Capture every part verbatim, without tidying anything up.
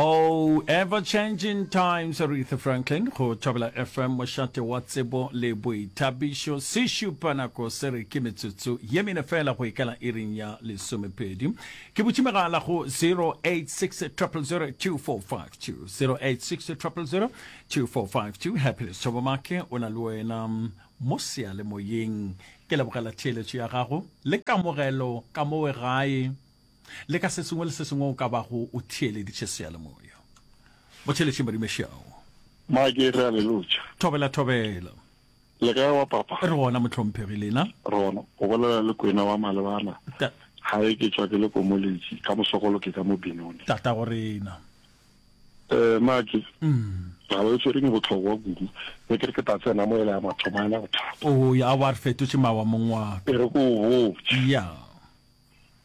Oh, ever changing times, Aretha Franklin, go Thobela F M, mošate wa tsebo le boithabišo. Se šupa nako se re ke metsotso ye mene fela go ikela iring ya lesomepedi. Ke butše megala go zero eight six zero zero zero two four five two, zero eight six zero zero zero two four five two. Happiness Thobomake o na le wena mo seyalemoyeng. Ke lebogela theeletšo ya gago le kamogelo ka mowe gae le ka se sengwe le se sengwe o ka bago o theeleditše seyalemoya. Motheeletši Madimešao. Make, re a le lotša. Thobela, thobela. Le kae wa papa? Re gona, mohlomphegi, lena? Re gona. O bolela le Kwena wa Malebana. Ta. Gae ke tšwa ke le Komoletši, ka Mosokolo ke ka mo Benoni. Tatago rena. Eh, Make. Taba e tshwereng e bohlokwa kudu. Be ke re ke tla tsena mo e le ya mathomo a ena bothata. O ya wa re fetotše mawa mong wa ka. E re ko o botše. Ya.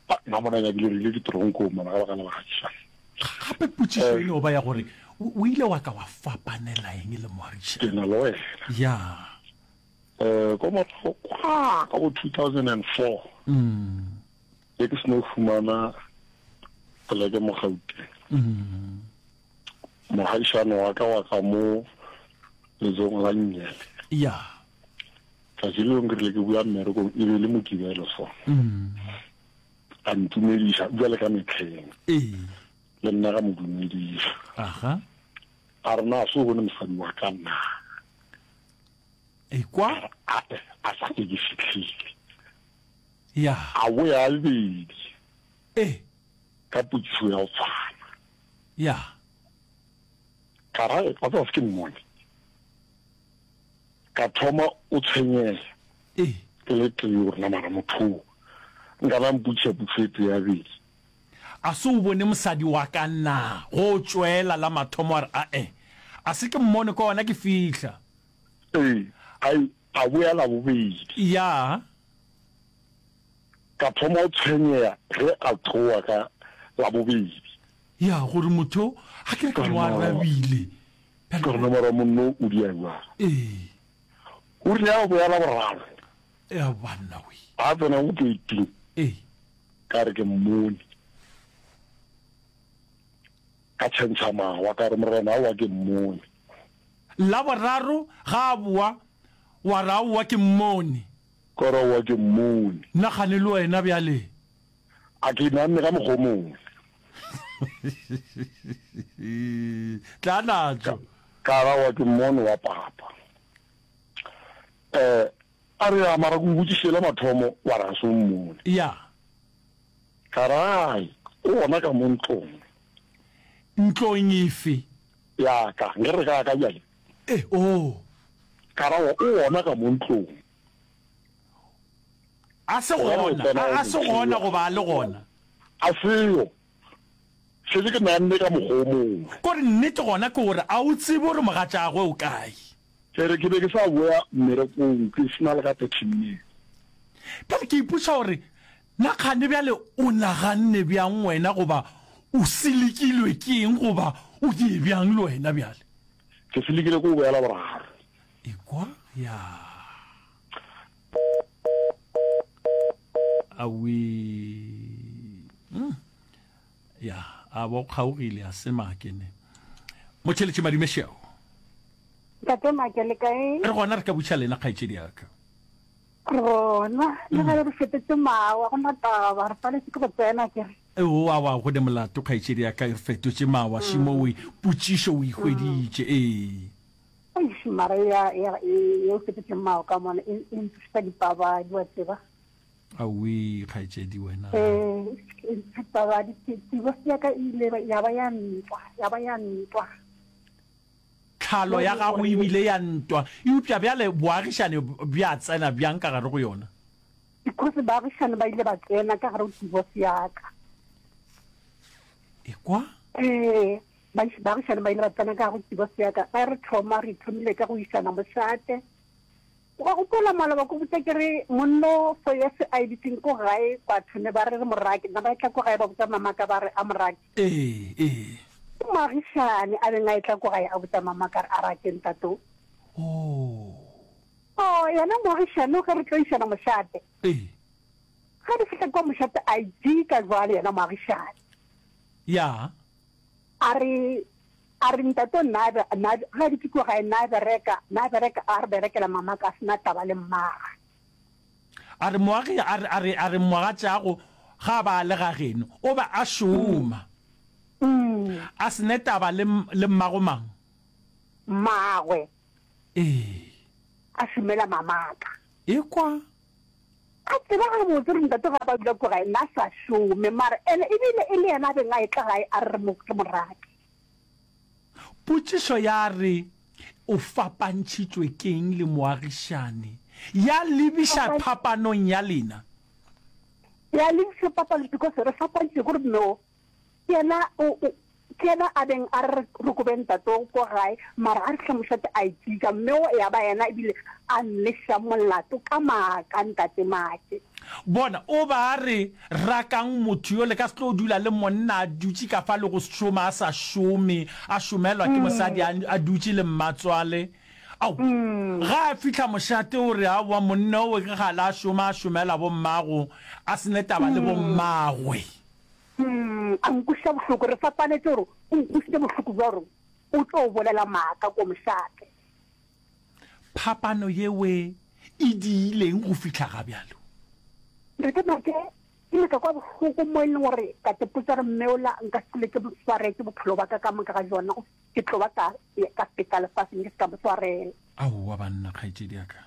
Ah, nna mona nyakile re ile ditoronkong mona ka baka la baagišani. Gape potšišo e no ba ya gore o ile wa ka wa fapanela eng le moagišani? Ke na le wena. Ya. Eh, ko morago kwa ka bo two thousand and four. Mm. Be ke seno fumana poleke mo Gauteng. Mm. Moagišani wa ka wa ka mo letsogong la nnyele. Ya. Tšatši le lengwe ke rile ke boya mmerekong, e be e le Mokibelo so. Mm. A ntumediša bjale ka mehleng. Ee. Le nna ka mo dumediša. Aha. A re na se o bone mosadi wa ka na? Ekwa. A re ae, a sa ke ke fihlile. Ya. A boya bedi. Ee. Ka potšišo ya go tshwana. Ya. Ka ra wa tseba se ke mmone. Ka thoma o tshwenyega. Ee. Ke le tee gore na mara motho o nka ba mpotšiša potšišo e tee ya bedi. A se o bone mosadi wa ka na? Go tšwela la mathomo a re ae. A se ke mmone ka ona ke fihla. Ee, ai, a boya la bobedi. Ya. Ka thoma go tshwenyega ge a tloga ka la bobedi. Ya, gore motho a ke re ka mo arabile. Ka re nomoro ya monno o dia bjang? Ee. O rile a boya la boraro. Ya banna we. A tsena go keiting. Ee. Ka re ke mmone. Ka tšhentšha mawa ka re morena aowa ke mmone. La boraro ga a boa wa re aowa ke mmone. Ka re aowa ke mmone. Nagane le wena bjale. A ke naganne ka mokgwa o mongwe. Tla natšo. Ka re aowa ke mmone wa papa. Eh, a re ya mara ke o botšišitše la mathomo wa re ga se o mmone. Ya. Ka re ai, o gona ka mo ntlong. Ntlong efe? Ya ka, nke re ka ka bjale. Eh, oh. Ka ra o gona ka mo ntlong. A se gona, a, a se gona goba a le gona? A seyo. Šetše ke naganne ka mokgwa o mongwe. Kore nnete gona ke gore a o tsebe gore mogatšagwe o kae. Ke re ke be ke sa boya mmerekong ke se na le ka thirty minutes. Bjale ke ipotša gore na kgane bjale o naganne bjang wena goba o selekilwe ke eng goba o die bjang le wena bjale? Ke selekile ke go boya Laboraro. Ekwa ya. Awii. Mm. Ya, a bo kgaogile a se make ne. Motšheletše Madimešeo. Ntate Make, le kae? Re gona, re ka butša lena kgaetšedi ya ka. Re gona, le ge re fetotše mawa, go na taba, re paletše ke go tsena ke re. Eo, awa, go ne molato kgaetšedi ya ka, re fetotše mawa, šimo o e, potšišo o e hweditše, ee. Eish, mara ya, ya, ye o fetotšeng mawa ka mona, e, e ntsošetša dipabadi, wa tseba. Aowii, kgaetšedi wena. Ee, e ntsošetša dipabadi, divorce ya ka e ile ya ba ya ntwa, ya ba ya ntwa. Tlhalo ya gago e bile ya ntwa, eupša bjale boagišane bja tsena bjang ka gare go yona? Because baagišane ba ile ba tsena ka gare go divorce ya ka. Ekwa? Ee, baagišane ba ile ba tsena ka gare go divorce ya ka. Ge re thoma, re thomile ka go išana mošate. O ka gopola maloba ko botša ke re monno for years a e dutseng ko gae batho ne ba re re morake nna ba etla ko gae ba botša mamaka ba re a morake. Ee, ee. Ke moagišane a beng a etla ko gae a botša mamaka a re a rake ntate o. Oh. Oh, yena moagišane o ge re tlo išana mošate. Ee. Ge re fihla kwa mošate a jika jwale yena moagišane. Ya. A re a re ntate nna nna ga di tlo gae nna bereka nna bereka a re berekela mama ka sena taba le mmaga. A re moagi a re a re a re mogatšago ga ba le ga geno o ba a šoma. Mm. A se ne taba le le mmago mang? Mmagwe. Ee. A šomela mamaka. Ekwa. A tseba gabotse gore ntate ga ba dula ko gae nna a sa šome mara ene ebile e le yena a beng a etla gae a re re mo re mo rake. Potšišo ya re, O fapantšhitšwe ke'ng le moagišani? Ya lebiša phapanong ya lena. Ya lebiša papanong because re fapantšhitšwe ke gore mme o ke yena o o ke yena a beng a re re kobe ntate o ko gae mara a re fihla mošate a itsitša mme o ya ba yena ebile a nleša molato ka maaka ntate Make. Bona, o ba a re, Rakang motho yo, le ka se tlo dula le monna a dutše ka fa le go šoma a sa šome, a šomelwa ke mosadi a, a dutše le mmatswale. Ao, ga a fihla mošate o re, Aowa, monna owe ke kgale a šoma, a šomela bommago, a se ne taba le bommagwe. A nkweša bohloko, re fapanetše gore o nkwešitše bohloko bja gore o tlo bolela maaka ko mošate. Phapano yewe e diileng go fihla ga bjalo? Ntate Make, Ke ile ka kwa bohloko mo e leng gore ka tepotša gore mme ola nka se hlole ke mo swaretše bophelo bja ka ka moka ga bjona, ke tlo ba ka ka feta lefaseng ke se ka mo swarela. Aowa banna, kgaetšedi ya ka.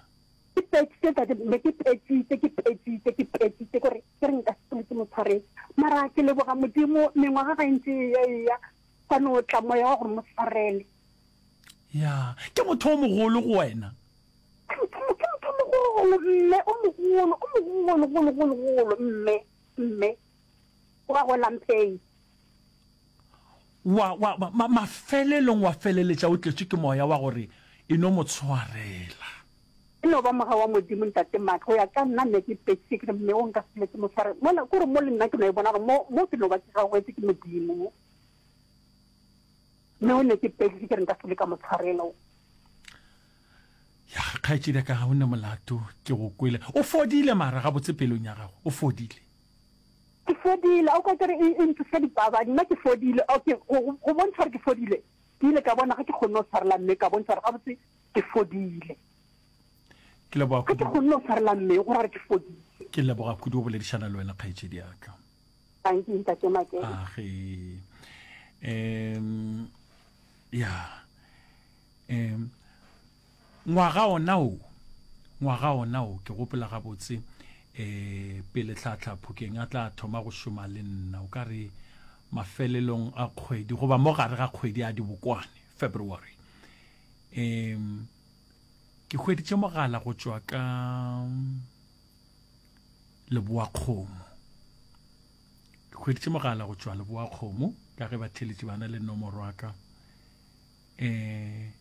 Ke petšitše ntate, be ke petšitše, ke petšitše, ke petšitše, ke gore ke re nka se hlole ke mo swaretše. Mara ke leboga Modimo, mengwaga ga e ntše e eya eya, gwa no tla moya wa gore mo swarele. Ya, ke motho o mogolo go wena. Ke motho, ke motho o mogolo, mme, o mogolo, o mogolo, golo, golo, golo, mme, mme. Wa go Lamphei. Wa, wa, ma, mafelelong wa feleletša o tletšwe ke moya wa gore e no mo tshwarela. E no ba mogau wa Modimo, Ntate Mark. Go ya ka nna, nne ke petšitše, ke re, Mme o nka se hlole ke mo tshwarela. Mola, ke gore mo le nna ke no e bona gore mo, mo ke no ba ke gaugetše ke Modimo mo. Mme o ne ke peditše ke re nka se le ka mo tshwarela. Ya, kgaetšedi ya ka, ga o ne molato, ke go kwele. O fodile mara gabotse pelong ya gago, o fodile. Ke fodile, a o ka ke re e, e ntsoša dipabadi, nna ke fodile. Okay, go, go, go bontšha gore ke fodile, ke ile ka bona ge ke kgonne go tshwarela mme, ka bontšha gore gabotse ke fodile. Ke leboga Ge ke kudu. kgonne go tshwarela mme, go ra gore ke fodile. Ke leboga kudu go boledišana le wena, kgaetšedi ya ka. Dankie, Ntate Makele. Age. Um, ya. Um, ngwaga ona o, ngwaga ona o, ke gopola gabotse, eh, pele Tlhahla Phokeng a tla thoma go šoma le nna, o ka re mafelelong a kgwedi, goba mo gare ga kgwedi ya Dibokwane, February. Um, ke hweditše mogala go tšwa ka Leboakgomo. Ke hweditše mogala go tšwa Leboakgomo, ka ge batheeletši ba na le nomoro ya ka. Um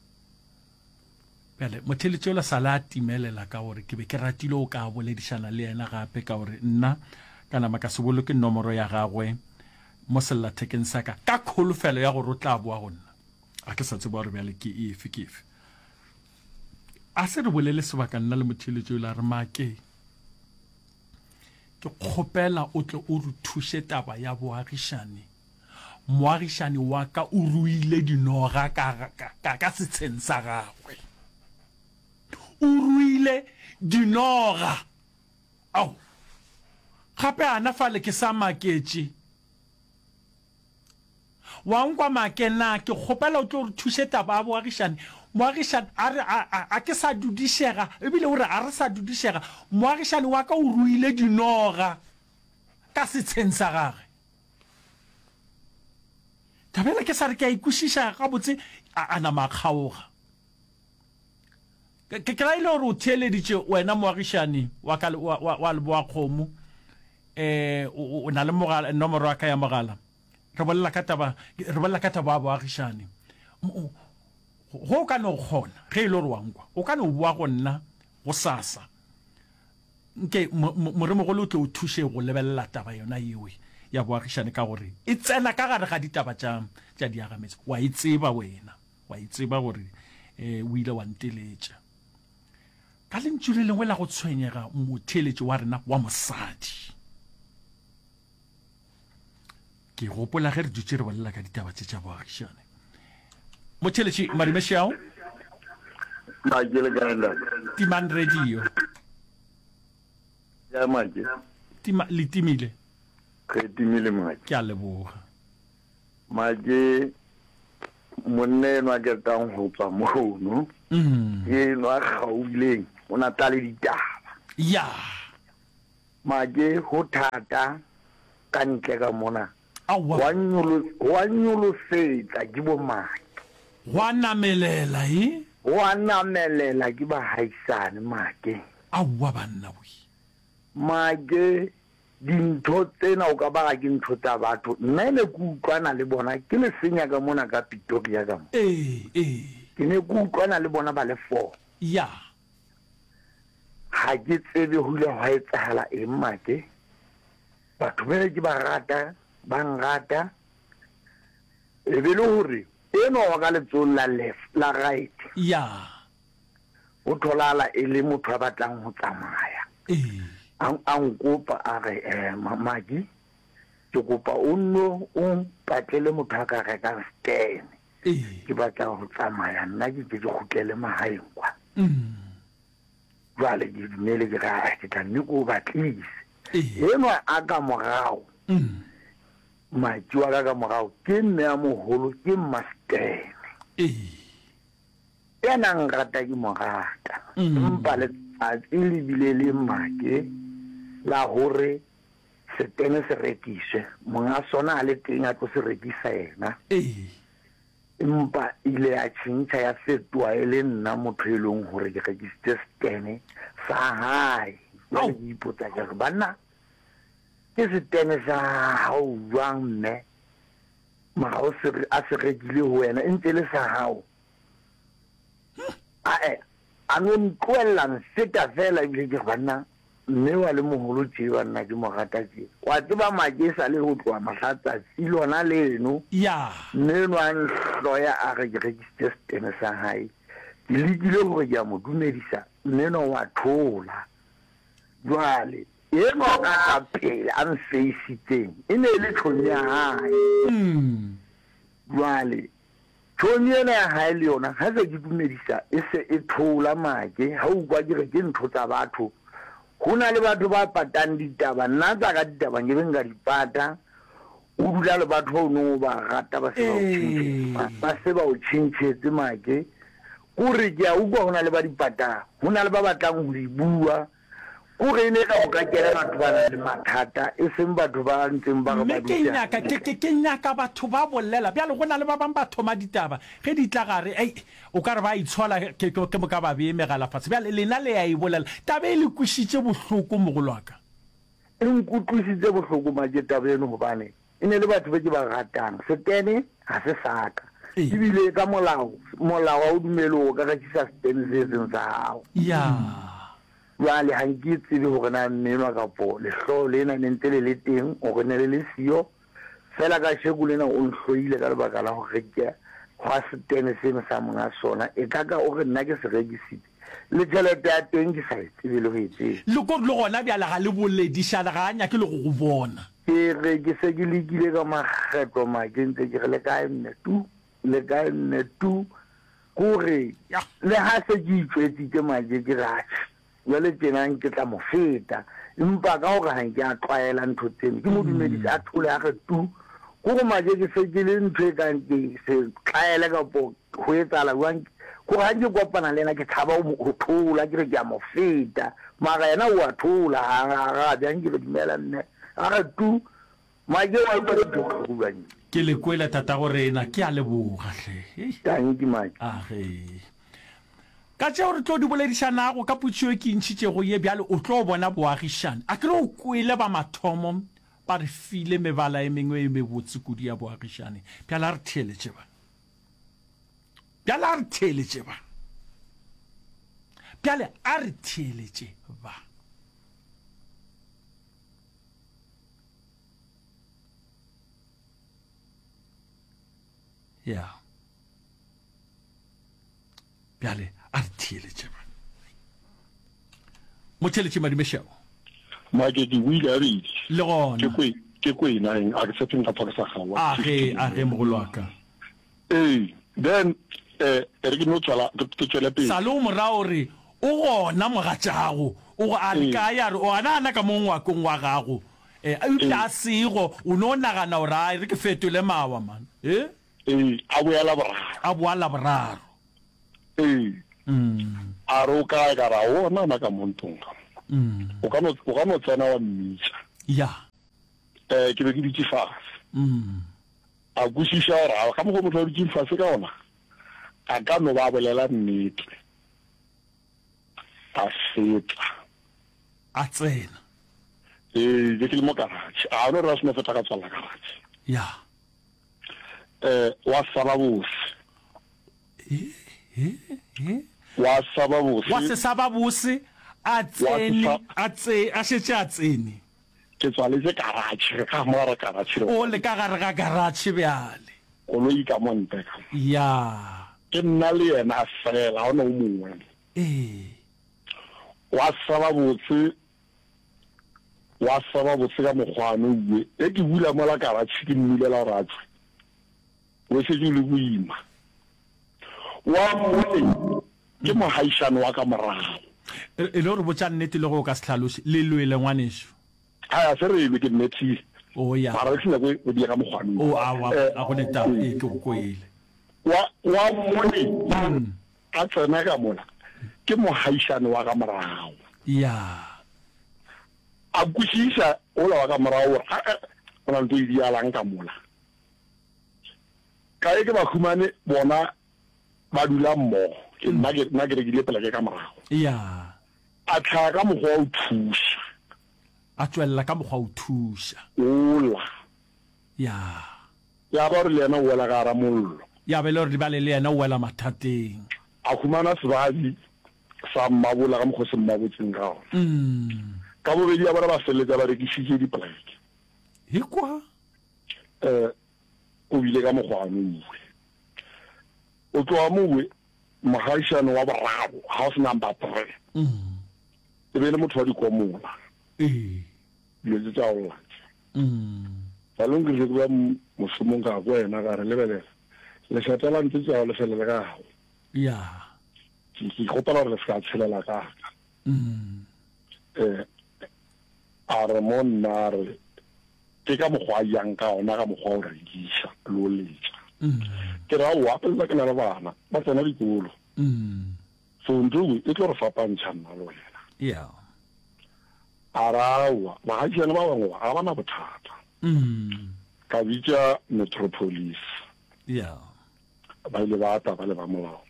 bjale motheeletši ola sala a timelela ka gore ke be ke ratile o ka boledišana le yena gape, ka gore nna ka nama ka se boloke nomoro ya gagwe mo sellathekeng sa ka, ka kholofelo ya gore o tla boa go nna. A ke sa tseba gore bjale ke efe ke efe. A se re bolele sebaka nna le motheeletši ola, re make ke kgopela o tle o re thuše taba ya boagišani. Moagišani wa ka o ruile dinoga ka, ka, ka, ka setsheng sa gagwe. O ruile dinoga. Ao, gape ana fale ke sa maketše. Wa nkwa Make, na ke kgopela o tlo re thuše taba ya boagišani. Moagišani a re, a, a, a ke sa dudišega, ebile o re a re sa dudišega. Moagišani wa ka o ruile dinoga ka setsheng sa gagwe. Taba yela ke sa re ke a e kwešiša gabotse, a, a nama a kgaoga. Ke, ke, ke ra e le gore o theeleditše wena moagišani wa ka, wa, wa, wa Leboakgomo, eh, o, o, o na le mogala, nomoro ya ka ya mogala. Re bolela ka taba, re bolela ka taba ya boagišani. Go o ka no kgona, ge e le gore wa nkwa, o ka no boa go nna gosasa. Nke Moremogolo o tle o thuše go lebelela taba yona yeo ya boagišani, ka gore e tsena ka gare ga ditaba tša, tša diagametse. Wa e tseba wena, wa e tseba gore um o ile wa nteletša. Ka lentšu le lengwe la go tshwenyega motheeletši wa rena wa mosadi. Ke gopola ge re dutše re bolela ka ditaba tše tša boagišane. Motheeletši Madumešao. Make le kae ntate? Timang radio. Ya make. Tima le timile. Re timile make. Ke a leboga. Make monna enwa ke tang go tswa mono. Mm. Enwa gauleng o na tla le ditaba. Ya. Make ho thata ka ntle ka mona. Aowa. Gwa nyolo, gwa nyolosetsa ke bo Make. Gwa namelela e. Gwa namelela ke bahaisane Make. Aowa banna we. Make dintho tsena o ka ba ga ke ntho tsa batho. Nna ne ke utlwana le bona ke le senya ka mona ka Pretoria ka mo. Ee, ee. Ke ne ke utlwana le bona ba le four. Ya. Ga ke tsebe go ile gwa etsahala eng Make. Batho ba ke ba rata, ba nrata. E be le gore enwa wa ka letsong la left, la right. Ya. O tholala e le motho a batlang go tsamaya. Ee. A, a nkopa a re, eh, Maki, ke kopa o nno o mpatlele motho a ka rekang stene. Ee. Ke batla go tsamaya nna ke ke ke kgutlele magaeng kwa. Mm. Jwale ke dumele ke re, ah, ke tla nne ke o batlise. Ee. Enwa a ka morago, Mm. Maki wa ka ka morago ke mme a mogolo, ke mma-Stene. Ee. Yena a nrata ke mo rata. Mm. Empa letsatsi le bile le make la hore setene se rekiswe. Monga sona a le teng a tlo se rekisa yena. Ee. Empa ile ya tjhentjha ya fetoha e le nna motho e leng hore ke rekisitse setene sa hae. Jwale ke ipotsa ke re, banna, ke setene sa hao jwang mme? Mara o se, a se rekile ho wena, e ntse e le sa hao. Ae, a no ntlohella nfeta fela ebile ke re banna, mme wa le moholo tje banna ke mo rata tje. Wa tseba make e sa le ho tloha mohla tsatsi lona leno. Ya. Mme enwa a nhloya a re ke rekisitse setene sa hae. Ke lekile hore ke a mo dumedisa, mme enwa wa thola. Jwale enwa ka ka pele a nfeisitseng e ne e le tjhomi ya hae. Mm. Jwale tjhomi ena ya hae le yona ha se ke dumedisa e se e thola make. Ha o utlwa ke re ke ntho tsa batho. Ho na le batho ba patang ditaba, nna tsa ka ditaba nke be nka di pata. O dula le batho ba o neng o ba rata ba se ba o tjhentjhetse, ba se ba o tjhentjhetse make. Kore ke a utlwa ho na le ba di patang, ho na le ba batlang ho di bua. Kore e ne ka o ka kena batho ba nang le mathata, e seng batho ba ntseng ba re ba Mme ke dutse nyaka, ke, hantle. ke, ke nyaka batho ba bolela. Bjale go na le ba bang ba thoma ditaba, ge di tla gare, ei, o ka re ba itshola, ke, ke, ke moka ba bee megala fatshe. Bjale lena le ya e bolela. Taba e le kwešitše bohloko, mogolo wa ka. E nkutlwisitse bohloko make taba eno, hobane e ne le batho be ke ba ratang. Setene ha se sa ka. Ee. Ebile ka molao, molao ha o dumele hore o ka rekisa setene se seng sa hao. Ya. Jwale ha nke tsebe hore na mme enwa kapo lehloho lena ne ntse le le teng hore ne le le siyo. Fela kasheko lena o nhloile ka lebaka la ho reka hwa setene seno sa monga sona. E ka ka o re nna ke se rekisitse, le tjhelete ya teng ke sa e tsebe le ho e tseba. Le ko le gona bjale ga le boledišana, ga a nyake le go go bona. Ke re ke se ke lekile ka makgetlo make ntse ke re le kae mme tu, le kae mme tu. Kore Ya. le ha se ke itjwetsitse make ke re atjhe, jwale tjena ke tla mo feta. Empa ka hore ha nke a tlwaela ntho tseno, ke mo dumedise a thole a re tu. Kore make ke se ke le ntho e kang ke se tlaele kapo ho etsahala jwang. Kore ha ke kopana le yena ke tshaba ho mo, ho thola, ke re ke a mo feta. Mara yena o a thola, ha a arabe, ha nke re dumela mme, a re tu. Make wa utlwa ke ntho e bohloko jwang e? Ke le kwele tatago rena, ke a leboga hle. Hei. Tanki Make. A ge. Ka tšeo re tlo di boledišanago ka potšišo e ke ntšhitšego ye bjale o tlo bona boagišane. A ke re o kwele ba mathomo ba re file mebala e mengwe e mebotse kudu ya boagišane. Bjale a re theeletše ba. Bjale a re theeletše ba. Bjale a re theeletše ba. Ya. Bjale a re theeletše ba. Motheeletše Madumešego. Make ke buile a bedi. Le gona. Ke kwe, Ke kwena eng, a ke tshepe nka tshwa ke sa kgaowa. A ge, a ge, mogolo wa ka. Ee, then, eh, e re ke no tswela, ke, ke tšwele pele. Sa le o mo ra o re, O gona, mogatšago. O go, a re Ee. kae? A re, O gana gana ka mo ngwakong wa gago. Eh, eupša Ee. a sego, o no nagana gore, a e re ke fetole mawa, man. Eh? Ee, a boya Laboraro. A boa Laboraro. Ee. A re, O kae? Ka re, A o gona gana ka mo ntlong ka mo. O ka no, o ka no tsena wa mmitša. Ya. Eh, ke be ke dutše fase. A kwešiša gore a ka mokgwa motho a dutšeng fase ka gona, a ka no ba a bolela nnete. A feta. A tsena. Ee, be ke le mo karatšhe. A no re a seno feta ka tswalela karatšhe. Ya. Eh, wa saba bose. He, he, he. Wa saba bose. Wa se saba bose, a Wa se tsene, sa. a tse, a šetše a tsene. Ke tswaletše karatšhe, re ka mo gare ga karatšhe re O le ka gare ga karatšhe bjale. Koloi ka mo ntle ka mo. Ya. Ke nna le yena fela, ga go na o mongwe. Ee. Wa saba botse, wa saba botse ka mokgwa ano uwe. Ge ke bula mola karatšhe ke mmulela gore a tšwe, o šetše o le boima. Wa mmone ke mohaišane wa ka morago. E le gore botša nnete le ge o ka se hlaloše, le lwele ngwanešu. Hai, a se re lwe, ke mmethile. O ya. Mara le se nyake go diega mokgwa ano. O, aowa, ga go ne taba. Ee, ke go kwele. Wa, wa mmone a tsena ka mola, ke mohaišane wa ka morago. Ya. A kwešiša wola wa ka morago gore, a-a, go na le ntho e dialang ka mola. Ka ge ke ba humane bona ba dula mmogo, ke nna ke, nna ke rekile poleke ka morago. Ya. A hlaga ka mokgwa wa go thuša. A tšwelela ka mokgwa wa go thuša. Wola. Ya. Ya ba gore le yena o wela ka gara mollo. Ya ba e le gore bjale le yena o wela mathateng. A humana sebadi sa mmabola ka mokgwa o se mmabotseng ka gona. Ka bobedi ya bona ba feleletša ba rekišitše dipoleke. Ekwa. Eh, o bile ka mokgwa ano uwe. O tloga mo uwe, mogaishane wa boraro, house number three. E be e le motho wa dikomola. Ee. Dilo tše tša go lla tše. Balong ke rile ke ba mošomong ka kwa yena ka re lebelela lešata la ntse tša le felele ka gago. Ya. Ke ke kgopela gore le se ka tshelela ka ka. Eh a re mo nna a re ke ka mokgwa a yang ka ona ka mokgwa o rekiša le o letša. Ke re aowa gape nna ke na le bana ba tsena dikolo. So ntho e e tlo re fapantšha nna le wena. Ya. A re aowa baagišane ba bangwe ba ga ba na bothata. Ka bitša Metropolice. Ya. Ba ile ba tla ba le ba molao.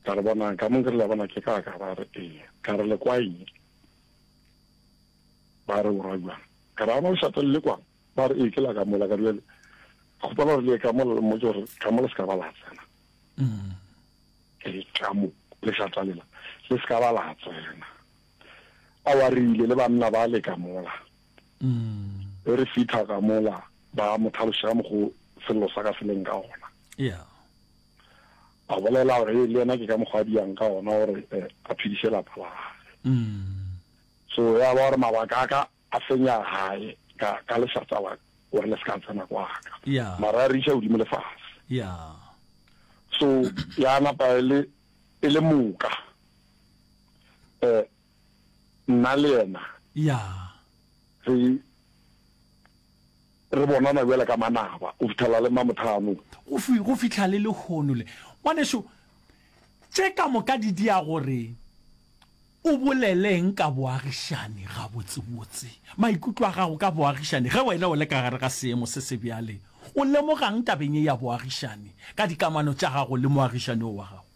Ka re bonang ka mo ke re le a bona ke ka ka ba re ee. Ka re le kwa eng? Ba re o ra bjang? Ka re ana lešata le le kwang? Ba re ee ke la ka mola. Ka re bjale kgopela gore le ye ka mola le mmotše gore ka mo le se ka ba la tsena. Ee ka mo lešata lela le se ka ba la tsena. Aowa re ile le banna ba le ka mola. Ge re fihla ka mola ba mo hlaloša ka mokgo sello sa ka se leng ka gona. Yeah. A bolela gore ee le yena ke ka mokgwa a diang ka gona gore a phediše lapa la gage. So ya ba gore mabaka a ka a fenya gae ka ka lešata la gore le se ka tsena kwa ka. Yeah. Mara a re iša godimo le fase. Yeah. So ya napa e le e le moka. Eh nna le yena. Yeah. Re re bonana bjale ka manaba go fihlela le mamothano. Go fi, go fihla le lehono le. Ngwanešu, tše ka moka di dia gore o bolele eng ka boagišani gabotsebotse? Maikutlo a gago ka boagišani ge wena o le ka gare ga seemo se se bjale, o lemoga'ng tabeng ye ya boagišani ka dikamano tša gago le moagišani wo wa gago?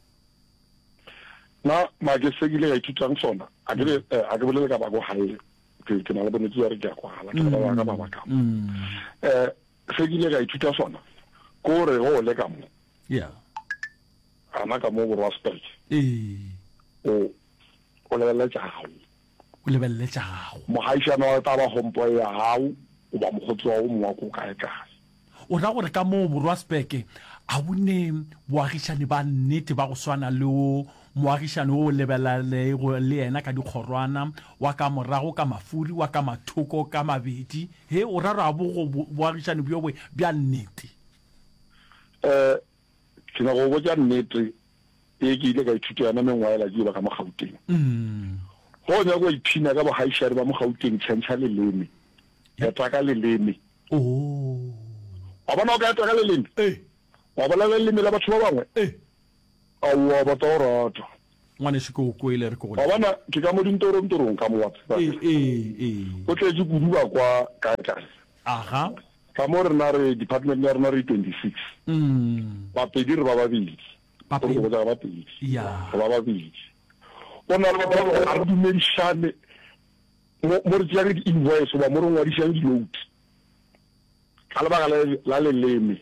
Na make se ke ile ka ithutang sona, a ke be, a ke bolele ka ba ko gae, ke, ke na le bonnete bja gore ke a kwala, ke bolela ka mabaka a mo. Eh, se ke ile ka ithuta sona, ke gore ge o le ka mo, Yeah. gana ka mo borwa Speke, Ee. o, o lebelele tša gago. O lebelele tša gago. Mogaishane wa tla ba homeboy ya gago, goba mokgotsi wa go mongwe wa ko kae kae. O ra gore ka moo borwa Speke a bo ne boagišani ba nnete ba go swana le wo Moagišani wo o lebelalego le yena ka dikgorwana, wa ka morago ka mafuri, wa ka mathoko ka mabedi. He, o ra gore a bo go boagišani bjo bo bja nnete? Eh, ke nyaka go botša nnete ye ke ile ka ithuta yona mengwaga yela ke eba ka mo Gauteng. Ge o nyaka go iphina ka bogaishane ba mo Gauteng, tšhentšha leleme, eta ka leleme. Wa bona o ka eta ka leleme? Wa bolela leleme la batho ba bangwe? Aowa, ba tla go rata. Ngwanešu, ke go kwele, re ke go Wa bona, ke ka mo dintorontorong ka mo, wa tseba. Ee, ee, ee. Go tletše kudu ba kwa kae kae. Aga. Ka mo rena re, department ya rena re twenty six. Bapedi re ba babedi. Bapedi. Go botša ka Bapedi. Ya. Re ba babedi. Go na le batho ba ga re dumedišane mo, mo re tšeang di-invoice goba mo re ngwadišang di-note. Ka lebaka la, la leleme.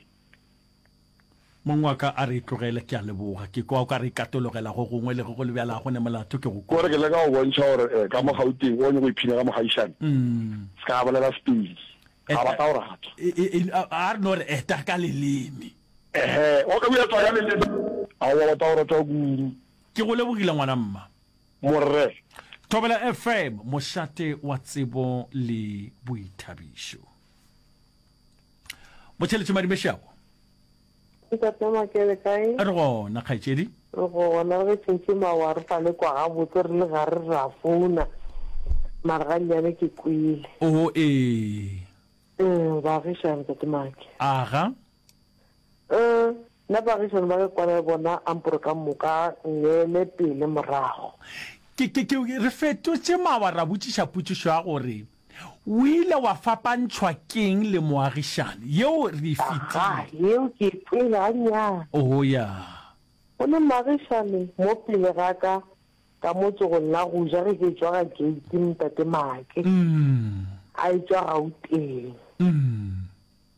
Mong wa ka a re e tlogele, ke a leboga. Ke kwa o ka re e katologela go gongwe, le ge go le bjalo ga go ne molato, ke go Kore kwele. ke leka go bontšha gore eh, ka mo Gauteng o nyaka go iphina ka mogaišane, se ka bolela Sepedi, ga ba tla go rata. E, e, e, a re no re eta ka leleme. Ehe, o ka bua tsa ka leleme, aowa ba tla go rata kudu. Ke go lebogile ngwana mma. Morre. Thobela F M, mošate wa tsebo le boithabišo. Motšheletše Madimešago. Ntate Make le kae? Re gona kgaetšedi. Re gona, re ge tšhentšhe mawa re sa le kwa gabotse re le gare ra founa mara ga nnyane ke kwele. Oo ee. Umm baagišane Ntate Make. Aga. Umm nna baagišane ba ke kwana le bona ampore ka moka ngele pele morago. Ke, ke, ke, re fetotše mawa ra botšiša potšišo ya gore, O ile wa fapantšhwa ke'ng le moagišani? Yeo re e Aga, fetile. yeo ke e kwele gannyane. Oo, ya. Go ne moagišani mo pele ga ka, ka mo tsogong la go ja ge ke etšwa ga gate, Ntate Make, a etšwa Gauteng.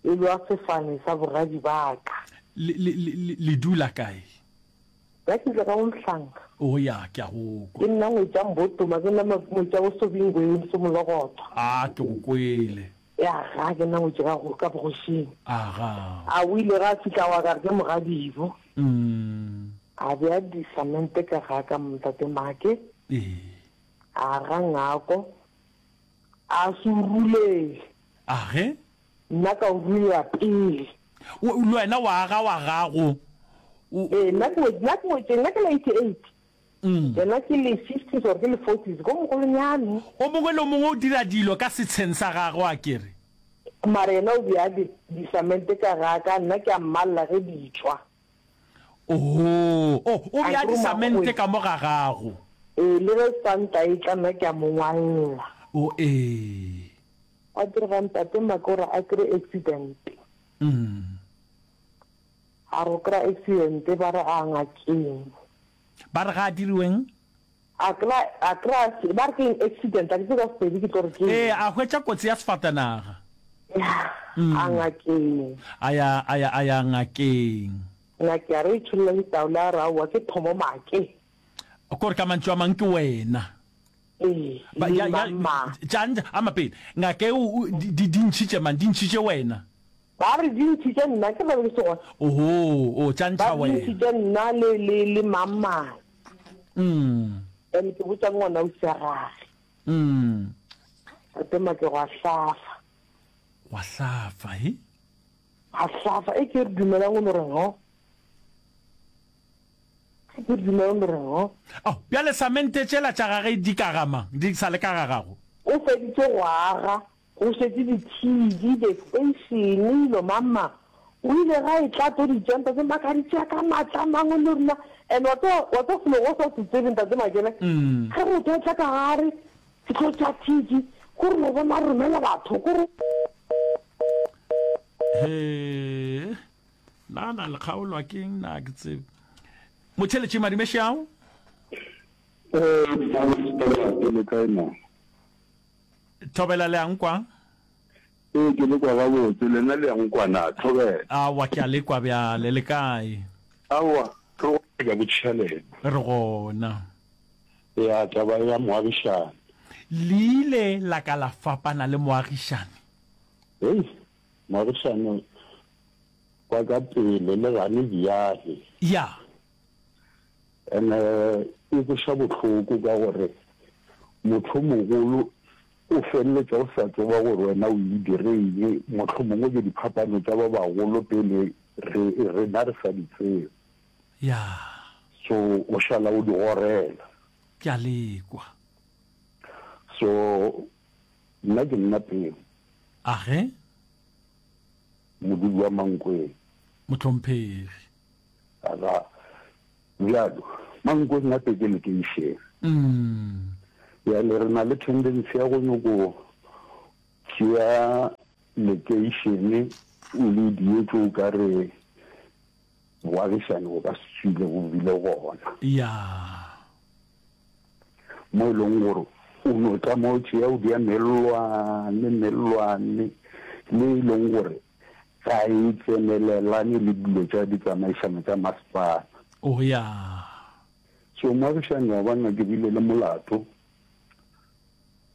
E lwa sefane sa bogadi ba ka. Le, le, le, le dula kae? Nna ke tšwa ka mo Mhlanga. Oh ya, ke a go kwa. Ke nna ngwetša Mbotoma, ke nna ngwetša bo Sobingweni, Somologotwa. A, ke go kwele. Ya ga, ke nna ngwetši ka go, ka bogošing. Aga. A o ile ga a fihla wa ka re ke mogadibo. Mm. A bea disamente ka ga ka Ntate Make. Ee. A aga ngako. A se o rulele. Age? Nna ka o rulela pele. O, le wena wa aga wa gago. O, Ee, nna ke, nna ke ngwetše, nna ke la eighty-eight. Mm. Yena ke le fifties or ke le forties, ko mogolonyane. O mongwe le o mongwe o dira dilo ka setsheng sa gagwe, a ke re. Mara yena o bea di, disamente ka ga ka, nna ke a mmalla ge di tšwa. Oo, oh, o A bea ke re o disamente makgweng. ka mo ga gago. Ee, le ge santa e tla, nna ke a mo ngwalla. O, ee. Gwa direga ntate Makora a kry accident. Mm. A re o kry accident ba re a ngakeng. Ba re ga a diriweng? A kry a kry ba re ke eng accident a ke tsebe ka Sepedi ke tlo re ke eng. Ee, a hwetša kotsi ya sefatanaga. Ya, a ngakeng. A ya a ya a ya ngakeng. Ngake a re e tšholla ditaola a re aowa ke thomo Make. Kore ka mantšu a mang ke wena. Ee, Ba, le ya, ya, mang mang. tša, ama pele. Ngaka eo o, di, di, di ntšhitše mang? Di ntšhitše wena? Ba re di ntšhitše nna, ke re be ke se gona. Oho, o, tša Ba ntšha re di wena. ntšhitše nna le, le, le mang mang. Mm. And ke botša ngwana ausi ya gage. Mm. Tate Make gwa hlafa. Gwa hlafa, he? Gwa hlafa, e ke re dumelang o no re ho. Ke dumela o re ho. Ao, bjale samente tšela tša gage di ka ga mang? Di sa le ka ga gago? O feditše go aga, go šetše di-T V, di-station, dilo mang mang. O ile ga e tla tlo di tšea, Ntate Maka a di tšea ka maatla a mangwe le rena. And wa tseba, wa tseba selo o sa se tsebe, Ntate Makele, ge motho a etla ka gare, ke tlo tšea T V, ko re no bona a romela batho, ko re. Hee, na na le kgaolwa ke eng na ke tsebe. Motšheletši Madimešao. Ee, Ntate le kae na? Thobela le a nkwa? Ee, ke le kwa gabotse, lena le a nkwa na? Thobela. Aowa, ke a le kwa bjale, le kae? Aowa, re gona, ke a botšiša lena. Re gona. Ya, taba ya moagišani. Le ile la ka la fapana le moagišani? Hei, moagišani wa ka pele le gane bjale. Ya. Ene e kweša bohloko ka gore motho mogolo o feleletša o sa tseba gore wena o e direile, mohlomongwe ke diphapano tša ba bagolo pele re rena re sa di tsebe. Ya. So o šala o di gorela. Ke a le kwa. So nna ke nna Peo. Age? Modudi wa Mankweng. Mohlomphegi. Aga. Bjalo, Mankweng gape ke lekeišene. Bjale re na le tendency ya go nyoko tšea lekeišene o le dietše o ka re boagišane bo ka se tswile bo bile gona. Ya. Mo e leng gore o no tla mo tšea o dia mellwane, mellwane le e leng gore ga e tsenelelane le dilo tša ditsamaišano tša masepala. Oh, ya. So moagišani wa bona ke bile le molato,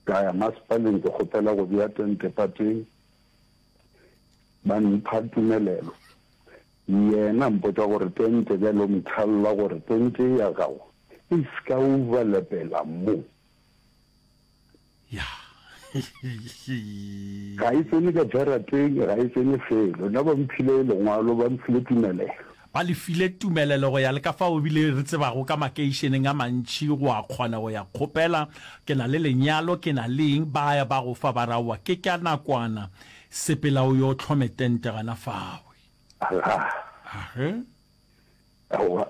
ka ya masepaleng ke kgopela go bea tente pateng, ba mpha tumelelo. Yena a mpotša gore tente bjale o mthalla gore tente ya gago e se ka overlapela mo. Ya. Ga e tsene ka jarateng, ga e tsene felo. Nna ba mphile lengwalo, ba mphile tumelelo. Ba le file tumelelo go ya le ka fao ebile re tsebago ka makeišeneng a mantši go a kgona go ya kgopela, ke na le lenyalo, ke na le eng, ba ya ba go fa ba re aowa ke ka nakwana, sepela o yo hlome tente gana fawe. Aga. Age. Aowa.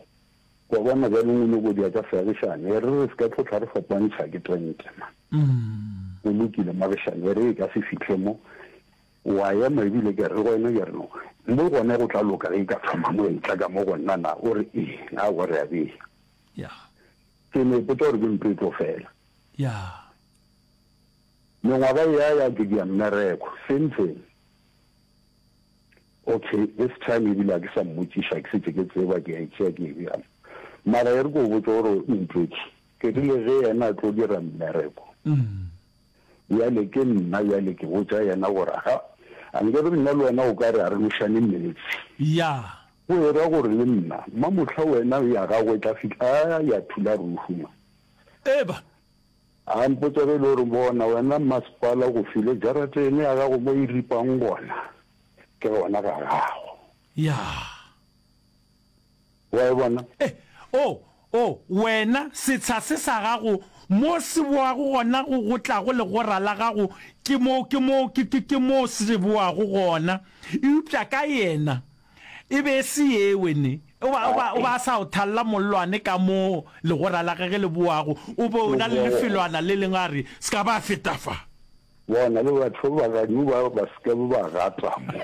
Wa bona bjale o nyoko dia tša seagišane, e re re se ka tlo tla re fapantšha ke tente man. Go lokile moagišane, e re e ka se fihle mo. Wa ema ebile ke re go wena ke re no, mo gona go tla loka ge e ka thoma mo e tla ka mo go nna na? O re ee, aowa re a bea. Ya. Ke no ipotša gore ke ntlo e tlo fela. Ya. Mengwaga e ya ya ke dia mmereko, same thing. Okay, this time ebile ga ke sa mmotšiša, ke šetše ke tseba, ke a e tšea ke e bea mo. Mara e re ke o botše gore ntwetše, ke rile ge yena a tlo dira mmereko, bjale ke nna bjale ke botša yena gore ga, a nke re nna le wena o ka re a re nošane meetse. Ya. Go e ra gore le nna, mamohla wena ya gago e tla fihla, a ya thula ruhu man. Eba. A mpotša ge e le gore bona wena masepala go file jaratene ya gago mo e ripang gona. Ke gona ga gago. Ya. Wa e bona? E, o, o, wena, setsha se sa gago, mo se boago gona go, go tlago legora la gago, ke mo, ke mo, ke, ke, ke mo se boago gona. Eupša ka yena, e be e se yewe, ne. O ba, o ba, o ba a sa o thalla mollwane ka mo legora la gage le boago, o be o na le lefelwana le lengwe, a re, Se ka ba feta fa. Bona le batho ba ganu ba ba se ke ba gata mo.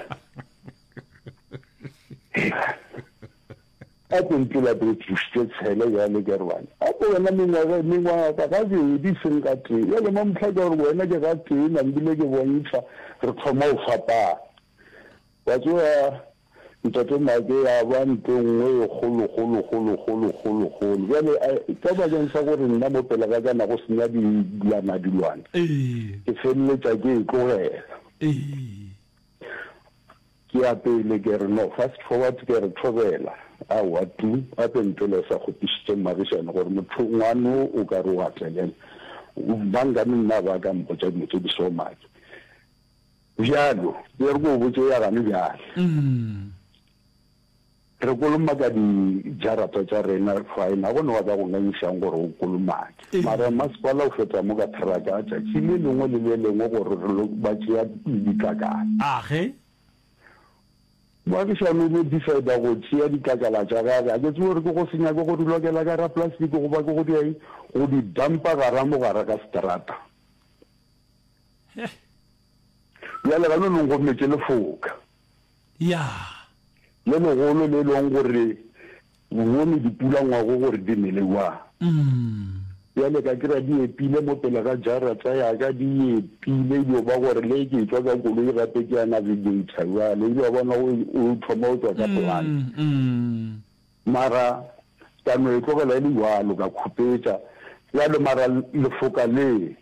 A ko mpela pele tšušitše tshele bjale ke re bana. A ko wena mengwaga mengwaga gabedi seng ga tee. Bjale mamohla ke gore wena ke ga tee nambile ke bontšha re thoma go fapana. Wa tseba Ntate Make ya ba ntho e nngwe e kgolo kgolo kgolo kgolo kgolo kgolo. Bjale ka bakeng sa gore nna mo pele ga ka na go senya dilwana dilwana, ke feleletša ke e tlogela. Ke ya pele ke re no fast forward ke re thobela aowa tu gape ntwela e sa kgopišitše mmagišane gore motho ngwano o ka re o a tlelela. Bangane nna ba ka mpotša dilo tše di so Make. Bjalo, e re ke o botše ya gane bjale. Re kolomaka dijarata tša rena, fine, ga go ne wa ka go ngangišang gore o kolomake. Mara masepala o feta mo ka theraka tšatši le lengwe le le lengwe gore re lo ba tšea ditlakala. Age. Moagišani o no decida go tšea ditlakala tša gage, ga ke tsebe gore ke go se nyake go di lokela ka gara plastic goba ke go dia eng, go di dumpa gara mo gare ga seterata. Bjale ga nonong go metše lefoka. Ya. Le legolo le leng gore bone dipula ngwago gore di nele jwang. Bjale ka kry-a di epile mo pele ga jarata ya ka, di epile e dio ba gore le ke etšwa ka koloi gape ke ya navigator bjale, ebile wa bona o thoma o tšwa ka plan. Mara ka no e tlogela e le jwalo ka khupetša bjale mara lefoka le.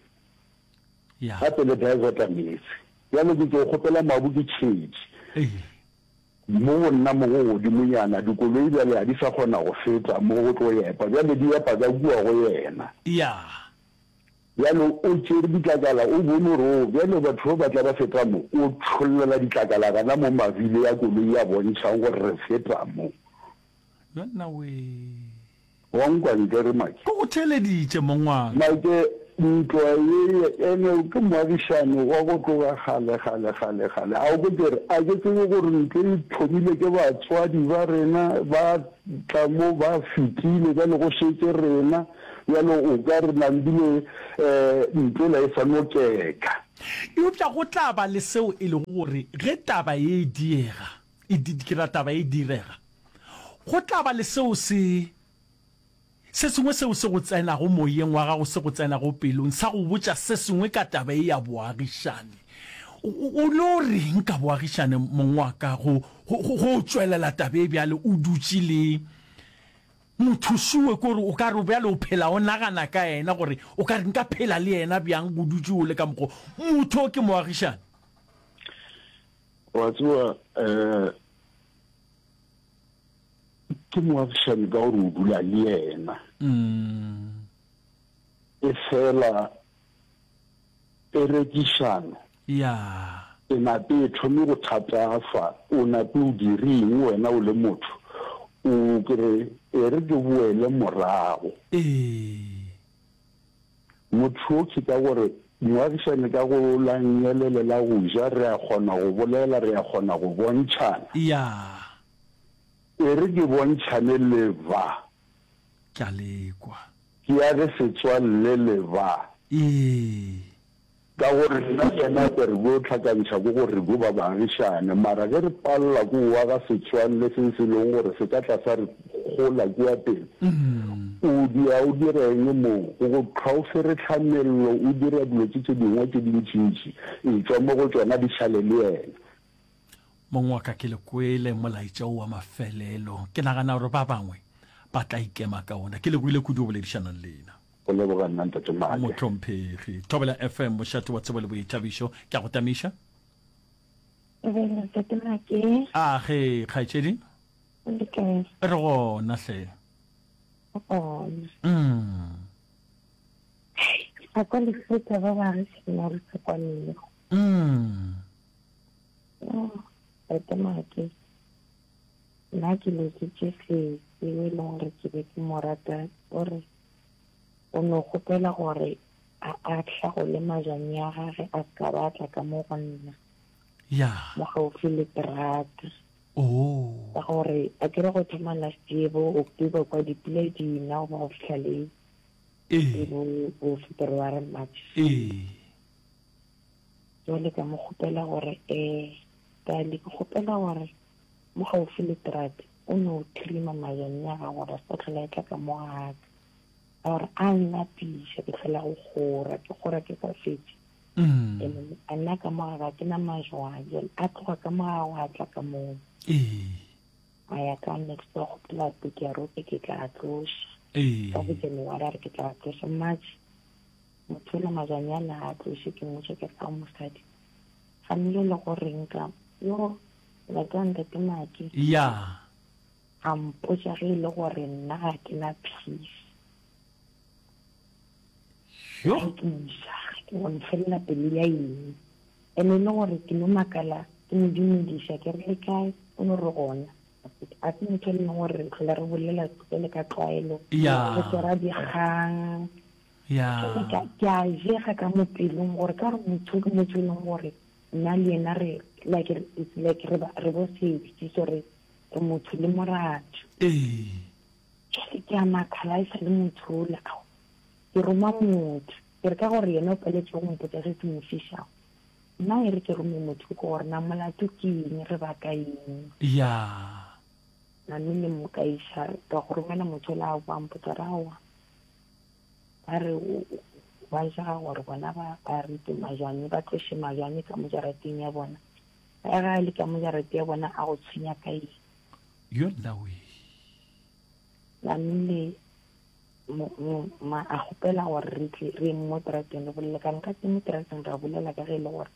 Ya. Gape le diverta meetse. Bjale ke tšo kgopela mabu ke tšhetše. Mo go nna mo go godimonyana, dikoloi bjale ga di sa kgona go feta mo go tlo epa. Bjale di epa ka kua go yena. Ya. Bjale o tšere ditlakala, o bone gore, oo, bjale batho ba ba tla ba feta mo. O tšhollela ditlakala gana mo mabile ya koloi ya bontšhang gore re feta mo. Yonna wee. Wa nkwa ntle re Mike? Ke go theeleditše, mong wa ka. Mike, ntwa ye, ene ke moagišani wa go tloga kgale, kgale, kgale, kgale. A o kwe ke re, a ke tsebe gore ntlo e thomile ke batswadi ba rena, ba tla mo ba fetile, bjale go šetše rena. Bjale o ka re nambile um ntlo yela e sa no keka. Eupša go tla ba le seo e lego gore ge taba ye e diega, e di, ke ra taba e direga, go tla ba le seo se, se sengwe seo se go tsenago moyeng wa gago, se go tsenago pelong, sa go botša se sengwe ka taba ye ya boagišane. O, o, o no reng ka boagišane, mong wa ka, go, go, go, go tšwelela taba e bjale o dutše le mothušuwe, ke gore o ka re bjale o phela o nagana ka yena, gore o ka re nka phela le yena bjang go dutše o le ka mokgo motho o ke moagišane? Wa tseba, um ke moagišane ka gore o dula le yena. E fela perekišano Ya. e nape e thome go thatafa, o nape o direng wena o le motho? O ke re, e re ke boele morago. Ee. Motho o ke ka gore moagišane ka go la nnyelele la go ja re a kgona go bolela, re a kgona go bontšhana. Ya. E re ke bontšhane le ba. Ke a le kwa. Ke age setswalle le ba. Ee. Ka gore nna le yena ke re bo hlakantšha ke gore re bo ba baagišane, mara ge re palela ke go aga setswalle se se leng gore se ka tla sa re gola kua pele, o dia o dira eng mo? Go go qha o ferehla mello, o dira dilo tše tše dingwe tše dintšintši, etšwa mo go tšona di šale le yena. Mong wa ka, ke le kwele molaetša wo wa mafelelo. Ke nagana gore ba bangwe ba tla ikema ka wona. Ke lebohile kudu go boledišana le lena. Go leboga nna Ntate Make. Mohlomphegi. Thobela F M, mošate wa tsebo le boithabišo. Ke a go tamiša. Thobela Ntate Make. A ge, kgaetšedi. O le kae? Re gona hle. Re gona. Mm. A kwa lefeta ba ba re sena re sa kwanego. Mm. Oh, Ntate Make. Nna ke lositše sesi o e leng gore ke be ke mo rata, o re o no kgopela gore a a hlagole majwang ya gage a se ka ba tla ka mo go nna. Ya. Mo gaufi le terata. Oh. Ka gore a ke re go thoma last year bo October kwa dipula di na go ba go fihla le Ee. bo, bo February, March. Ee. Jwale ka mo kgopela gore, eh, Dali, ke kgopela gore mo gaufi le terata o no thrima majwang ya gago gore a se ka tlhola e tla ka mo ga ka. Ka gore a nna tiša, ke tlhola go kgora, ke kgora ke sa fetše. Mm. Ene a nna ka mo ga ke na majwang, jwale a tloga ka mo ga gagwe a tla ka moo. Ee. A ya ka next door, kgopela peke ya rope ke tla tloša. Ee. Ka bo January a re ke tla tloša, March motho ola majwang a na a tloše, ke mmotša ke re ka mosadi. Ga mmele le gore nka, yo, ntate wa ntate Make. Ya. A mpotša ge e le gore nna ga ke na peace. Yo. Ga ke ja, ke go nfelela pelo ya eng. Ene e le gore ke no makala, ke mo dumediša, ke re le kae, o no re gona. A se motho e leng gore re tlhola re bolela le ka tlwaelo. Ya. Re swara dikgang. Ya. Ke, ke a jega ka mo pelong gore ka gore motho ke motho e leng gore nna le yena re, like, it's like re ba, re bo sesi, so re, re motho le moratho. Ee. Jwale ke a makala e sa le motho ola, ao, ke roma motho. Ke re ka gore yena o paletswe go mpotsa se se mo fišago. Nna e re ke rome motho ke gore na molato ke eng, re baka eng. Ya. Namile mo ka iša, ka go romela motho ola a boa mpotsa re aowa. Ba re o, o, ba jega gore bona ba, ba rute majwang, ba tloše majwang ka mo jarateng ya bona. Ba ga le ka mo jarateng ya bona a go tshwenya ka eng. Yo nna we. Namile mo, mo, ma a kgopela gore re tle re mo terateng re bolele ka nka mo terateng ra bolela ka ge e le gore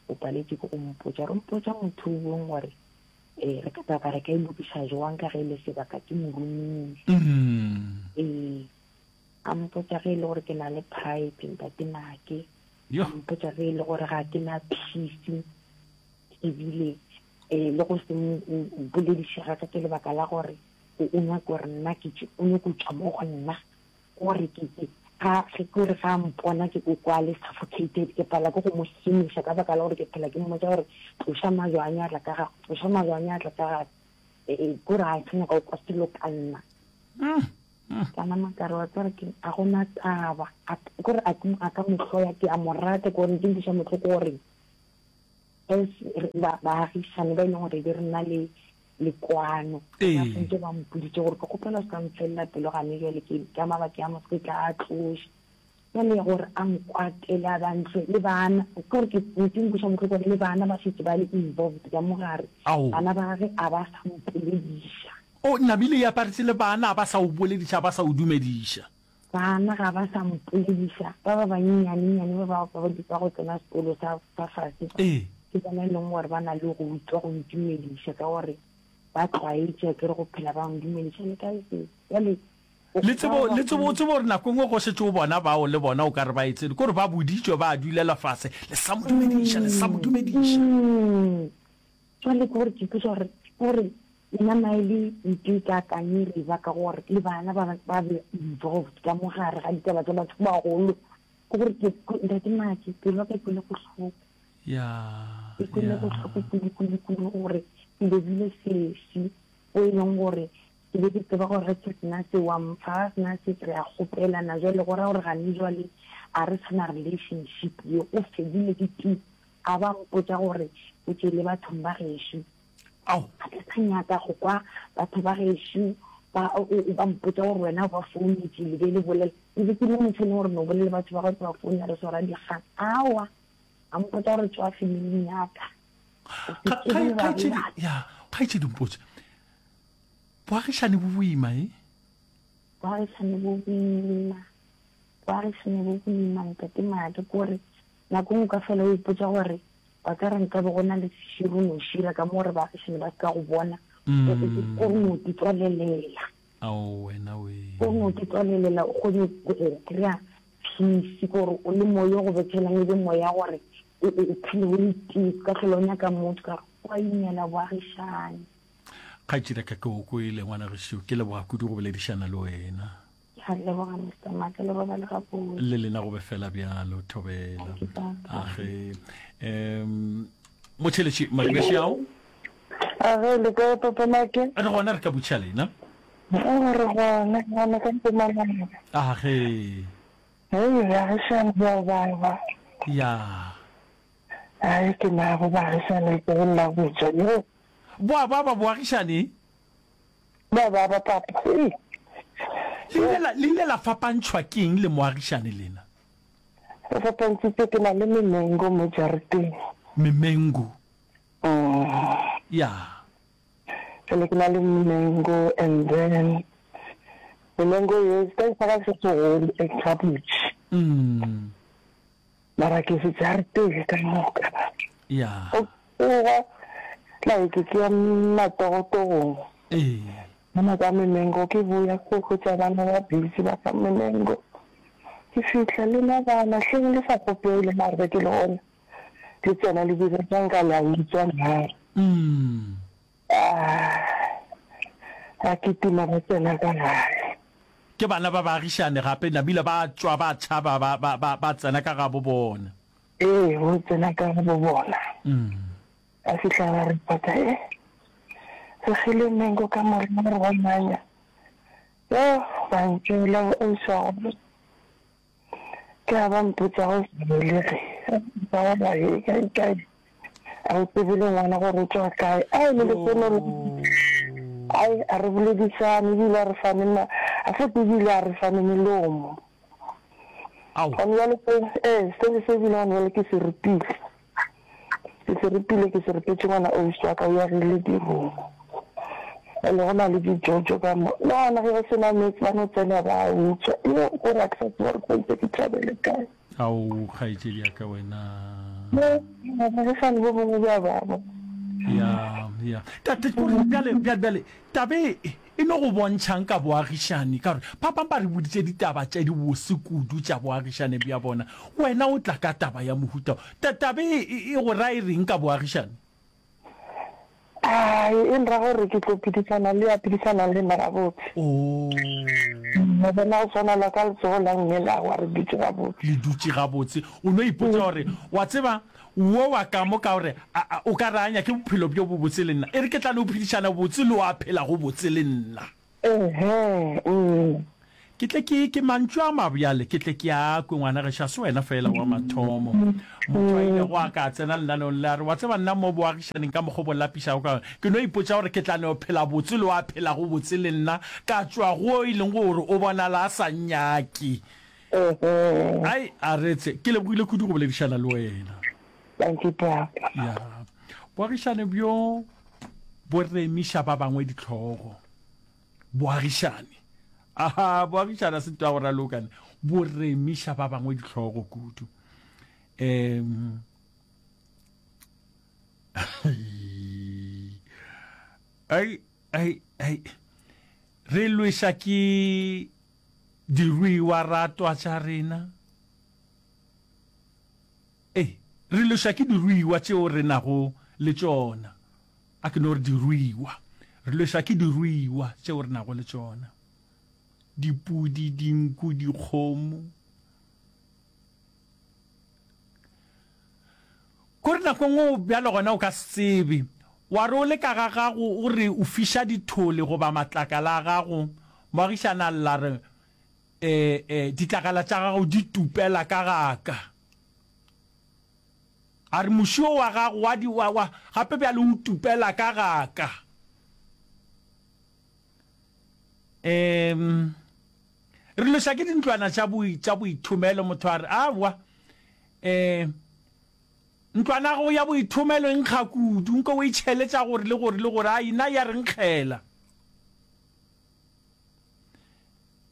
o paletše ke go mpotša. Re mpotša motho o bong gore um re ka taba re ka e lokiša jwang ka ge e le sebaka ke mo romile. Ee, a mpotša ge e le gore ke na le pride ntate Make, a mpotša ge e le gore ga ke na peace ebile um le go se bolediše ga ka ke lebaka la gore o nyaka gore nna ke tšwe, o nyaka go tšwa mo go nna gore ke ke ga ge ke gore ga mpona ke ko kwa le suffocated ke pala ke go mo hemiša ka baka la gore ke phela ke mmotša gore tloša majwa a nyatla ka gago, tloša majwa a nyatla ka gago, e kore ga sa nyaka go kwa selo ka nna. Ka nama ka re wa tseba ke a gona taba, kore a ka mo hloya ke a mo rata ke gore ke nkweša bohloko gore as baagišane ba e leng gore be re na le le kwano ba sentse ba mpoditše gore ke kgopela se ka mfelela pelo gane jale ke ka mabake a moseke tla a tloša jale gore a nkwatele a bantle le bana ke gore ke ke nkweša bohloko gore le bana ba šetše ba le involved ka mogare bana ba gage a ba sa mpolediša. O namile e aparetše le bana a ba sa o bolediša a ba sa o dumediša. Bana ga ba sa mpolediša, ba ba banyenyanennyane ba ba ba ba go tsena sekolo sa sa fase ba, ke bona e leng gore ba na le go utlwa go ntumediša ka gore ba tlwaetše akere go phela ba ndumediša le kae se. Bjale o Le ba tsebo, ba le tsebo, o tsebe gore nako e nngwe go šetše o bona bao le bona o ka re ba e tsene, ke gore ba boditšwe ba dulela fase, le sa mo dumediša, le sa mo dumediša. Jwale ke gore ke ipotša gore, ke gore nna na e le ntho e kaakang e re baka gore le bana ba ba be involved ka mo gare ga ditaba tša batho ba bagolo. Ke gore ke, ntate Maake, pelo ya ka e kwele bohloko. Ya, E kwele ya. bohloko kudu, kudu, kudu gore ke lobile sesi o e leng gore ke be ke tseba gore ge ke sena se wa mpha, ga sena se re a kgopelana. Jwale go ra gore gane jwale a re sa na relationship ye, o fedile ke tu. A ba mpotša gore o tšwele bathong ba gešo. Ao. Ga ke sa nyaka go kwa batho ba gešo ba, ba mpotša gore wena o ba founetše le be le bolela. Ke be ke le motho e leng gore no bolela le batho ba gago ke ba founela re swara dikgang. Aowa, a mpotša gore tšwa familing ya ka. O se Kga, tsebe kga, le ba kgaetšedi, bolaya. ya, kgaetšedi mpotše, boagišani bo boima, e? Boagišani bo boima, boagišani bo boima, ntate Maake, ke gore nako nngwe ka fela o ipotša gore ba ka re nkabe go na le seširo no šira ka mo gore baagišani ba se ka go bona, o o no di tswalelela. Ao wena wee. O no di tswalelela o kgone go kry-a peace, ke gore o le moya o go bethelang e be moya gore o o phele o le tee, o se ka hlola o nyaka motho ka gore o a imela boagišani. Kgaetšedi ya ka ke o kwele ngwana gešo, ke leboga kudu go boledišana le wena. Ke a leboga Mister Maake, le robale gabotse. Le lena go be fela bjalo, thobela. Thank you, papa. Age. Um motšheletši Maribeši ao. Age, le kae papa Maake? Re gona re ka butša lena. Oh, re gona, gona ka Mpumalanga. Age. Hei, baagišane ba baba. Ya. Ai, ke nabo baagišane le la botša. Yo. Boa ba ba boagišane? Ba ba ba papa. Hei. Le ile la, le ile la fapantšhwa ke eng le moagišane lena? Re fapantšhitšwe ke na le memengo mo jarateng. Memengo? Mm. Ya. Jale ke na le memengo and then memengo ye se sa ka se segolo e gabotse. Mm. Mara ke se jarateng ka moka. Ya. O tsoga like ke ya matogotogong. Ee. Mona ka memengo ke boya ko hwetša bana ba busy ba fa memengo. Ke fihla le na bana hleng le sa kgopele mara be ke le gona le tsena le dira tša nka la utswa na. Mm. Ah, a kitima ba tsena ka gae. Ke bana ba baagišane gape nabile ba tšwa ba tšhaba ba, ba, ba, ba tsena ka gabo bona. Ee, bo tsena ka gabo bona. Mm. Ba fihla ba reporta, eh, re kgile mengo ka morena re ba manya. Yo, ba ntšwela go ausi wa gona. Ke a ba mpotša go sa belege. Ba ba he kae kae. A o tsebe le ngwana gore o tšwa kae. Ai le lehono le. Ai a re boledišane ebile a re fane ma a fote ebile a re fane melomo. Ao. Gone bjale se ee se se ebile gone bjale ke se ripile. Ke se ripile ke se ripetše ngwana ausi wa ka o agile diromo. Ene go na le dijojo ka mo. Le gona ge go se na meetse ba no tsena ba utswa. Yo gore a ke sa tseba gore tshwanetse ke tšhabele kae. Ao kgaetšedi ya ka wena. Baagišani bo bongwe bja baba. Ya, ya. Tate, kore bjale, bjale, bjale, tabe e, e no go bontšhang ka boagišani, ka gore ba bang ba re boditše ditaba tše dibose kudu tša boagišane bja bona. Wena o tla ka taba ya mohuta wo. Ta, tabe e, e, e go ra e reng ka boagišane? Ai, e nra gore ke tlo phedišana le ya phedišanang le nna gabotse. Oh. Wa bona go swana la ka letsogo la mme la wa re dutše gabotse. Le dutše gabotse. O no ipotša gore, wa tseba, wo wa ka mo ka gore a, a, o ka re a nyake bophelo bjo bobotse le nna. E re ke tla no phedišana botse le wa phelago botse le nna. Ehe, mm. Ke tle ke, ke mantšu a mabjale, ke tle ke a kwe, ngwana gešo, a se wena feela wa mathomo. Motho a ilego a ka a tsena lenaneong le a re, Wa tseba, nna mo boagišaneng ka mokgwa o bo lapišago ka gona, ke no ipotša gore ke tla no phela botse le wa phelago botse le nna, ka tšwa go e leng gore o bonala a sa nnyake. Ai, aretse, ke lebogile kudu go boledišana le wena. Dankie, Papa. Ya. Boagišane bjo bo remiša ba bangwe dihlogo. Boagišane. Aha, boagišane a se ntwa go ralokane. Bo remiša ba bangwe dihlogo kudu. Um ai ai ai re lweša ke diruiwa ratwa tša rena. Ee, re lweša ke diruiwa tšeo re nago le tšona. A ke no re diruiwa. Re lweša ke diruiwa tšeo re nago le tšona. Dipudi, dinku, dikgomo. Kore nako nngwe o bjalo gona o ka se tsebe. Wa re o le ka ga gago o re o fiša dithole goba matlakala a gago, moagišani a lla re, E, e, ditlakala tša gago di tupela ka ga ka. A re, Muši wo wa gago wa di, wa, wa, gape bjale o tupela ka ga ka. Um, re lweša ke dintlwana tša bo, tša boithomelo. Motho a re, Aowa, um, ntlwana ya gago ya boithomelo e nkga kudu, nko o e tšhele tša gore le gore le gore, ai, nna ya re nkgela.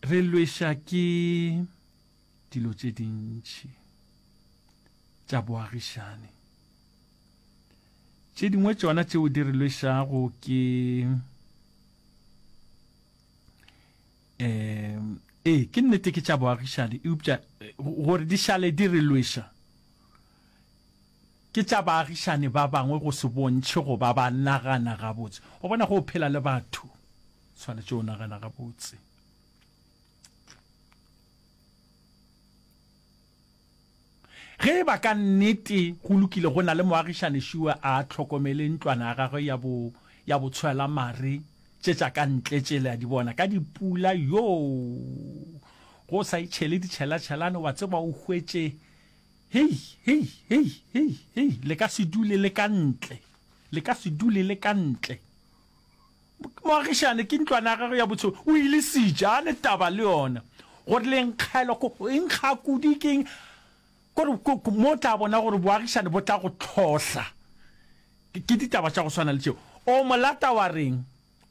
Re lweša ke dilo tše dintši tša boagišani. Tše dingwe tšona tšeo di re lwešago ke um ee ke nnete ke tša boagišani eupša gore di šale di re lweša ke tša baagišani ba bangwe go se bontšhe go ba ba nagana gabotse. Wa bona go phela le batho swanetše o nagana gabotse. Ge e ba ka nnete go lokile go na le moagišani šua a hlokomele ntlwana ya gagwe ya bo ya botshwela mare tše tša ka ntle tše le a di bona ka dipula yoo go sa itšhele ditšhelatšhelane wa tseba o hwetše hei hei hei hei hei le ka se dule le ka ntle le ka se dule le ka ntle Moagišane ke ntlwana ya gagwe ya botshelo, o ile sitša, a ne taba le yona. Gore le nkgela, e nkga kudu ke eng? Kore mo o tla bona gore boagišane bo tla go hlohla. Ke ditaba tša go swana le tšeo. O molata wa reng?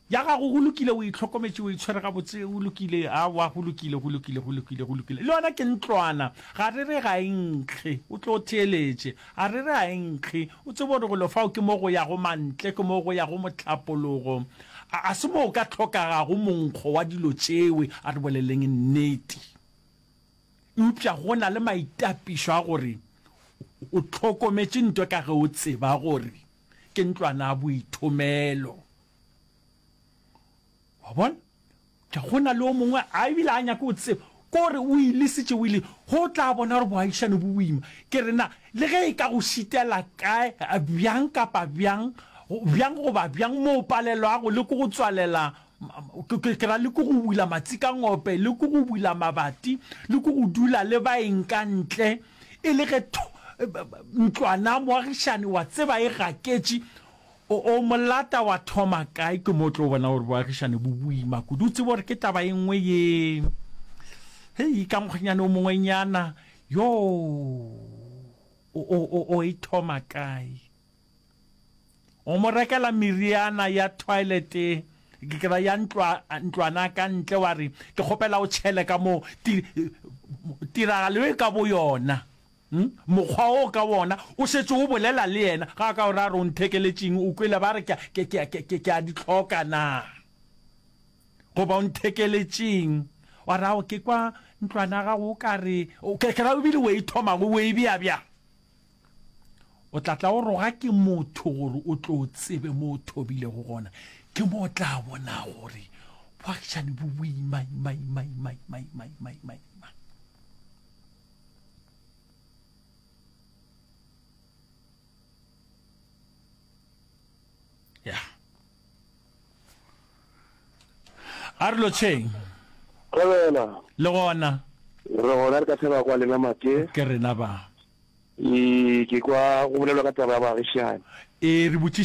Ya gago go lokile, o itlhokometše, o itshwere gabotse, o lokile, aowa, go lokile, go lokile, go lokile, go lokile. Le yona ke ntlwana, ga re re ga e nkge, o tlo theeletše. A re re a e nkge, o tsebe gore golo fao ke mo go yago mantle, ke mo go yago mohlapologo. A, a se mo o ka hlokagago monkgo wa dilo tšewe, a re boleleng nnete. Eupša go na le maitapišo a gore o hlokometše ntwe ka ge o tseba gore ke ntlwana ya boithomelo. Wa bona? Ke go na le o mongwe a ebile a nyake o tseba kore o ilesitše o ile go tla bona gore boagišane bo boima. Ke re na le ge e ka go šitela kae bjang kapa bjang bjang goba bjang mo o palelwago le ke go tswalela ke ra le ke go bula matsikangope le ke go bula mabati le ke go dula le baeng ka ntle e le ge ntlwana moagišane wa tseba e gaketše O, o molata wa thoma kae? Ke mo o tlo bona gore boagišane bo boima kudu. O tsebe gore ke taba e nngwe ye. Hei, ka mokgwenyane o mongwenyana, yo, o, o, o, o e thoma kae? O mo rekela meriana ya toilet, ke ke ra ya ntlwa, ntlwana ka ntle, wa re, ke kgopela o tšhele ka mo, tiragalo e ka boyona. Hm? Mokgwa wo ka wona o šetše o bolela le yena, ga a ka o ra re o nthekeletšeng, o kwele ba re ke, ke, ke, ke, ke, ke a di hloka na? Goba o nthekeletšeng, wa re, Ao, ke kwa ntlwana ya gago o ka re, ke, ke ra ebile o e thomago o e bea bjang? O tla tla o roga ke motho gore o tlo tsebe mo o thobilego gona. Ke mo o tla bona gore boagišani bo boima, ima, ima, ima, ima, ima, ima, ima, ima. Ya. A re lotšheng. Thobela. Le gona. Re gona re ka thaba kwa lena Make. Ke rena ba. Ee, ke kwa go bolelwa ka taba ya baagišani. Ee, re botšiša.